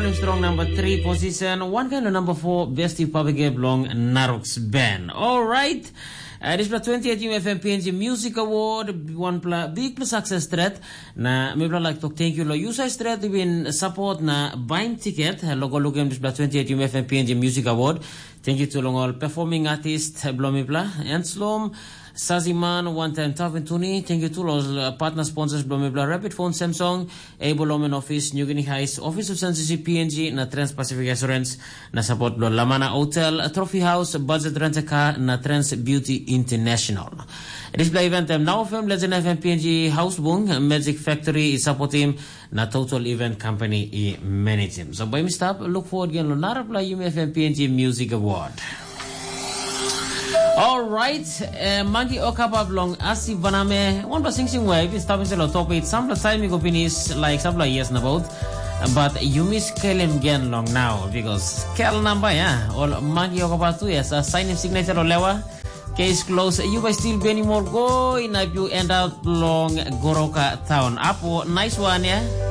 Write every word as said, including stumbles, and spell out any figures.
Strong number three position, one kind of number four best hip hop game long Narux Band. All right. Uh, dispela twenty-eight U F M P N G Music Award, one pla big success threat. Na mipla like to thank you lo you say straight been support na buying ticket. Logo lukim dispela twenty-eight U F M P N G Music Award. Thank you to long all performing artist blo mipla. Enslom, Saziman, one time Tavin Tuni. Thank you to all uh, partner sponsors blo mipla. Rapid Phone, Samsung, Able Omen Office, New Guinea Heights, Office of Censorship P N G, na Trans Pacific Assurance, na support blo Lamana Hotel, Trophy House, Budget Rent a Car, na Trans Beauty International. Dispela event em Now F M, Legend F M, P N G, House Bung, Magic Factory i support him, na Total Event Company i manage him. So by mi stop, look forward again lo narapla Yumi F M P N G Music Award. Alright, eh, Mangi Okapa bilong Asi Baname, wanpela singsing we i stap inside lo top eight sampela taim i go pinis, like sampela years nabaut. But yumi skelim gen long now because kel namba ya, ol Mangi Okapa tu ya sa sainim signature o lewa. Case close, you by still Benny Morgo, in you end up long Goroka town. Apo, nice one ya.